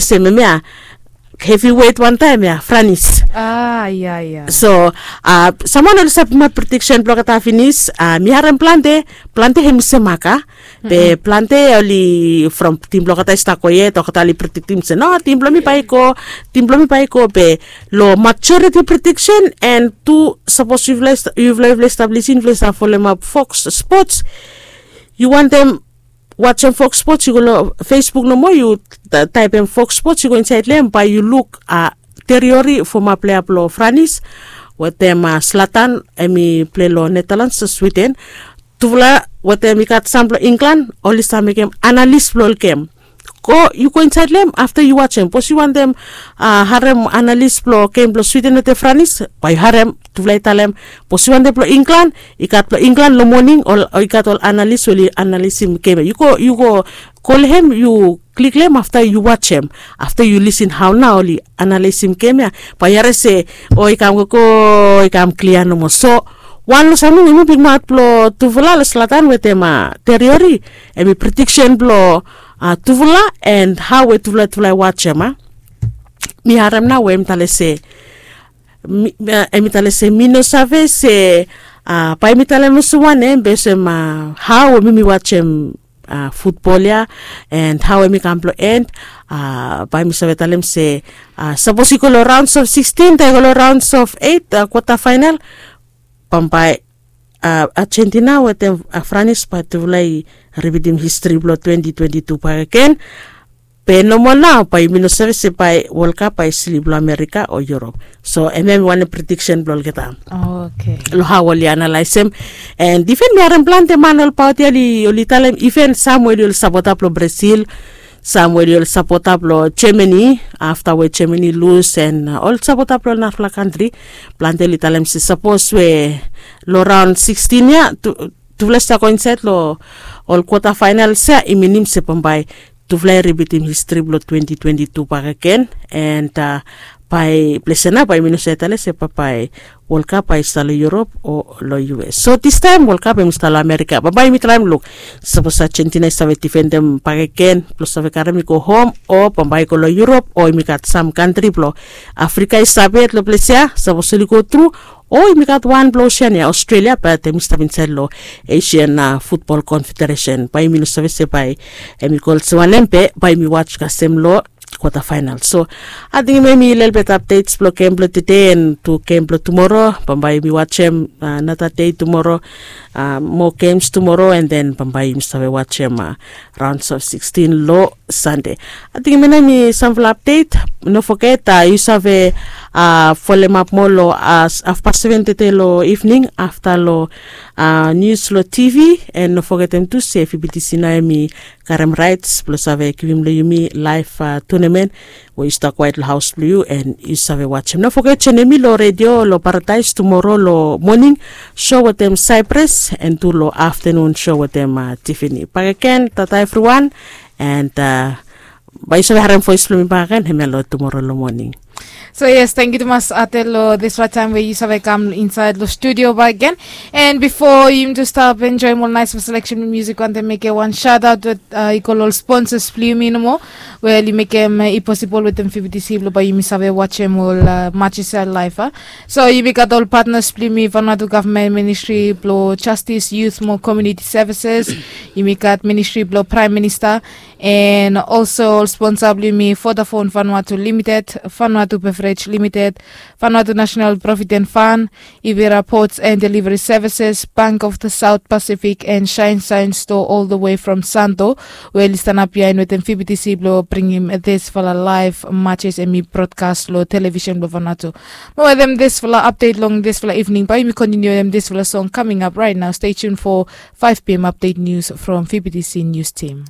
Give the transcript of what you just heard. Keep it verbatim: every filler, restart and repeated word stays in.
Sem em ya hevi wet wantaem ya franis. Ah ya ya. So, saman oli sapima prediksen blong olgeta finis. Mi harem plante plante hem i se maka, be plante oli from tim blong olgeta i stap go yet olgeta oli prediktim se no, tim blong mi bai i go, tim blong mi bai i go be long majoriti prediksen and tu sapos yufala yufala i stap lisin yufala i stap folemap fox spots, yu wantem wajem fox spots yu go long facebook nomo yu taipem fox spots yu go insaed long em bae yu luk teriori foma plea blong franis wetem slatan em i plei long netalans swiden. Tufala wetem i gat sam blong inglan oli save mekem analis blong ol gem. Go yu go insaed long em afta yu wajem bos yu wantem harem analis blong gem blong swiden wetem franis bae yu harem tufala i talem bos yu wantem blong inglan i gat blong inglan long moning o i gat ol analis we oli analisim gem ya yu go yu go go long hem yu klik long hem afta yu wajem afta yu lisin hao nao oli analisim gem ya bae yu harim se o i kam gogo i kam klia nomo so wan long samting em i bigmaot blong tufala long slatan wetem teriori em i prediksen blong tufala and hao we tufala tufala i wajem a mi harem nao we em i talem se em i talem se mi no save se bae mi talem olsem wanem be olsem hao we mi mi wajem futbol ya and hao we mi kam blong en bae mi save talem se sapos i go long raons of sixteen tae i go long raons of eight kwata fainal bambae argentina wetem franis bae tufala i ripitim histri blong twenty twenty two bakegen. Be nomol nao bae yumi no save se bae wolkap bae i slip long amerika o yurop. So em ya em i wanem prediksen blong olgeta long hao oli analaesem. And iven mi harem plante man olbaot ya oli talem iven sam we oli ol sapota blong brasil, sam we oli ol sapota blong germany afta we germany lus and ol sapota blong ol narafala kantri plante oli talem se sapos we long raon sixteen ya tufala i stap go insaed long ol kwata fainals ya i minim se bambae tufala i ripitim histri blong twenty twenty two bakegen and bae ples ya nao bae yumi no save talem se bambae wolkap bae i stap long yurop o long us so distaem wolkap em i stap long amerika bambae yumi traem luk sapos argentina i save difendem bakegen blong save karem i go hom o bambae i go long yurop o yumi gat sam kantri blong afrika i save yet long ples ya sapos oli go tru o yumi gat wan blong osean ya aostrelia bat em i stap insaed long asian futbol konfederesen bae yumi no save se bae em i go olsem wanem be bae yumi waj kasem long kwata fainal so ating em em i lelbet apdets blong gem blong tude and tu gem blong tumoro bambae yumi wajem nata dei tumoro moa gems tumoro and then bambae yumi save wajem raons of sixteen long sande. Ating em em i samfala apdet. No foget yu save folemap moa long afpas seven tete long evening afta long nius long tv and no fogetem tu se fibitisi nao em i karem raets blong save givim long yumi laef tunemen we yu stap kwaet long haos blong yu and yu save wajem no foget joinim mi long redio long paradaes tumoro long moning sho wetem saipres and tu long aftenun sho wetem tifini bakegen tata evriwan. And bae yu save harem voes blong mi bakegen hemia long tumoro long moning. So yes, tangkiu tumas ate long disfala taem we yu save kam insaed long studio bakegen. And bifo yumi tu stap enjoem ol naes seleksen blong musik wantem mekem wan shaotaot we i go long ol sponsas blong yumi nomo we oli mekem i posibol wetem fifty c blong bae yumi save wajem ol matches ya laef a. So yumi gat ol patnas blong yumi vanwatu gavman ministri blong jastis yut mo komiuniti sevises. Yumi gat ministri blong praem minista and olso ol sponsa blong yumi vodafon vanwatu limited, vanwatu beverej limited, vanwatu nasenal provident fan, ivira pots and deliveri sevises, bank of the saut pasifik and shaen saen stoa ol the wei from santo we oli stanap biaen wetem fibitisi blong bringim disfala laef matches em i brodkas long televisen blong vanwatu. Mo wetem disfala apdet long disfala ivning bae yumi kontiniu wetem disfala song kaming ap raet nao stei tun fo faef pm apdet nius from fibitisi nius tim.